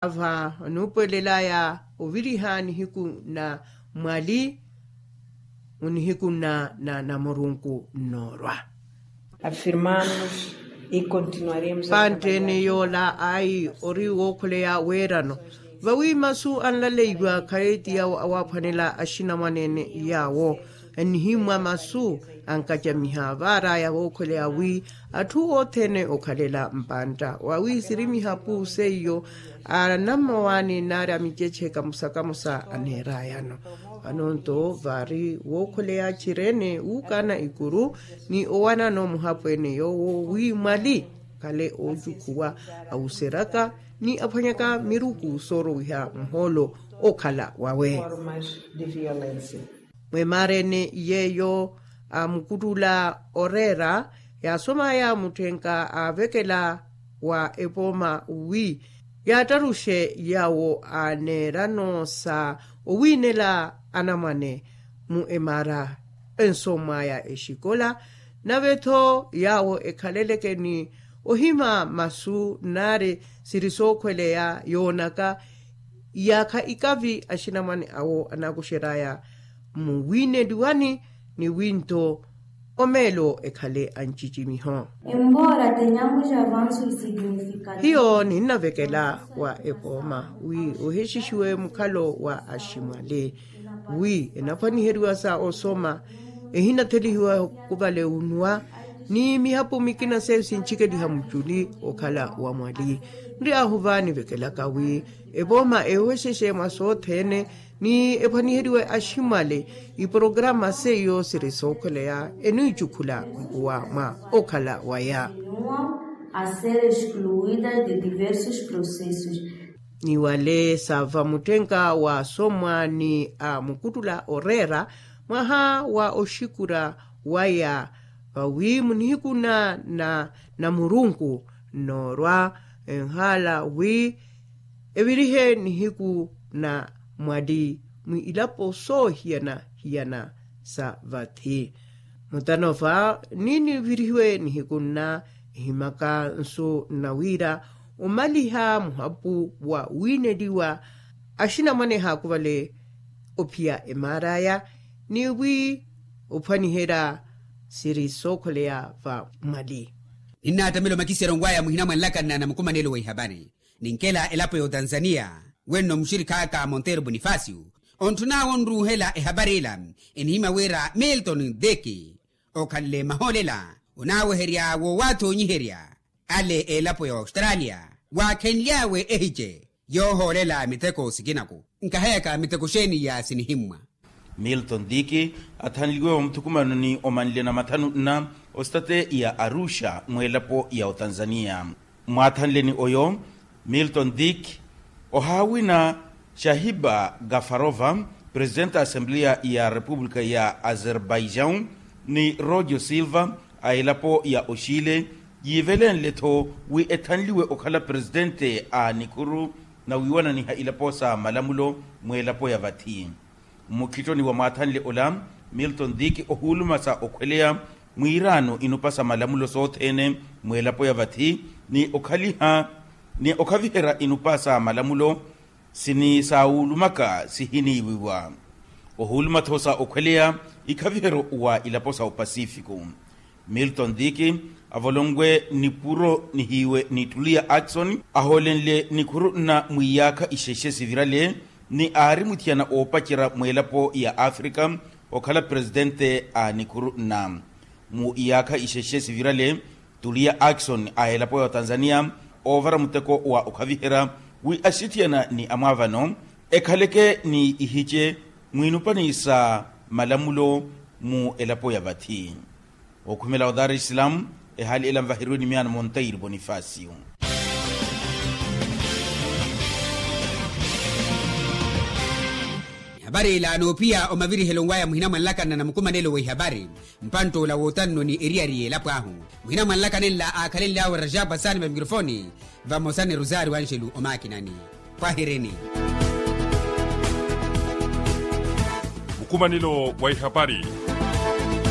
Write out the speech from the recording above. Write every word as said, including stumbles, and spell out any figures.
Ava onuupuwelelaya oviriha nihiku na mwali onihiku na na namurunku nnoorwa. Afirmamos e continuaremos a panttene trabalhar. Yoola ayi ori wookhuleya weerano vawi masu anlaleiwa khale ti yawo awaaphwanela axinamwanene yaawo annihimmwa masu ankacamiha vaaraya vookhuleya wi atthu othene okhalela mpantta wawi sirimiha puuse iyo anammawaani naari a miceche kamusa kamusa aneerayano. Vano nto vaari wookhuleya txirene wuukaana ikuru ni owanano muhapweene yoowo wi mwali khale oocukhuwa awuseryaka ni aphwanyaka miruku soorowiha muhoolo okhala wawe. Mwemarene yeeyo amukuttula oreera yaasomaya mutthenka aavekela wa epooma wi yaattaruxe yaawo aneerano sa owiinela anamwane mu emaara ensomwaya exikola nave-tho yaawo ekhaleleke ni ohima masu naari siri sookhweleya yoonaka iyaakha ikavi axinamwane awo anaakuxeraya muwiineliwani ni winto omeelo ekhale ancicimiho. Embora tenhamos avanços significativos. Hiyo ninnavekela wa epooma wi ohexixiwe mukhalo wa aximwali wi enaphwaniheriwa sa osoma ehinathelihiwa khuvale unwa ni mihapu mikina seiyo sintxikeliha muculi okhala wa mwali nri ahuva nivekelaka wi epooma ehoxexe mwa sothene ni ephwaniheriwe aximwale iporograma seiyo siri sookhweleya eniicukhula nkuwa mwa okhala waya. A ser excluída de diversos processos. Ni wale saava mutthenka waasomwa ni a mukuttula oreera mwaha wa oxikura waya vawi munihikuna na namurunku nnoorwa enhaala wi evirihe nihiku na mwali mwi ilapo soohiyana-hiyana sa vathi. Mutano va ni nivirihiwe nihiku nna ehimaka nsu nna wira omaliha muhapu wa wiineliwa axinamwane haakuvale ophiya emaaraya ni wi ophwaniherya siri sookholeya va mwali. Ninnaatamela omakiseryo nwaya muhina mwa nlakanna na mukumanelo wa ihapari ninkela elapo ya otanzaniya wenno muxirikhaaka monteiro bonifacio ontthun'awe onruuhela ehapari ila enihimya wira milton diki okhanle mahoolela onaaweherya woowathoonyiherya ale elapo ya ostralia waakhenly'awe ehice yoohoolela miteko sikinaku nkaheyaka miteko xeeni ya sinihimmwa. Milton diki athanliwe wa muthukumano ni omanle na mathanu nna ostate ya arusha mw'elapo ya otanzaniya. Mwaathanleni oyo milton diki ohaawina shahiba gafarova presidente a assembleya ya repupulika ya azerbaijaun ni rojo silva a elapo ya oxile yiivelenle-tho wi ethanliwe okhala presidente a nikhuru na wiiwananiha ilapo sa malamulo mw'elapo ya vathi. Mmukhittoni wa mwaathanle ola milton diki ohuuluma sa okhweleya mwiiraano inupa sa malamulo sothene mw'elapo ya vathi ni okhaliha ni okhaviherya inupa sa malamulo sinisaawuulumaka sihiniiwiwa ohuuluma-tho sa okhweleya ikhaviheryo wa ilapo sa opasifiko. Milton diki avolonwe nipuro nihiiwe ni tuliya akson ahoolenle nikhuru nna mwiyaakha ixexe sivirale ni aari muthiyana oopacerya mw'elapo ya afrika okhala presidente a nikhuru nna mu iyaakha ixexe sivirale tuliya akson a elapo ya otanzaniya oovara muteko wa okhaviherya wi axithiyana ni amwaavano ekhaleke ni ihice mwiinupani sa malamulo mu elapo ya vathi. Okhumela o dar es salaam ehaali ela nvaheriwe ni miyaano monteiro bonifacio. Ehapari ila noophiya omavirihelo nwaya muhina mwa nlakanna na mukumanelo w'ehapari mpantt'ola wootanno ni eriyari y'elapo ahu muhina mwa nlakanenla aakhalenly'awe rajab asani va mikrofooni vamosa ni rosario anjelu omaakinani. Khwahirini. Mukumanelo wa ihapari.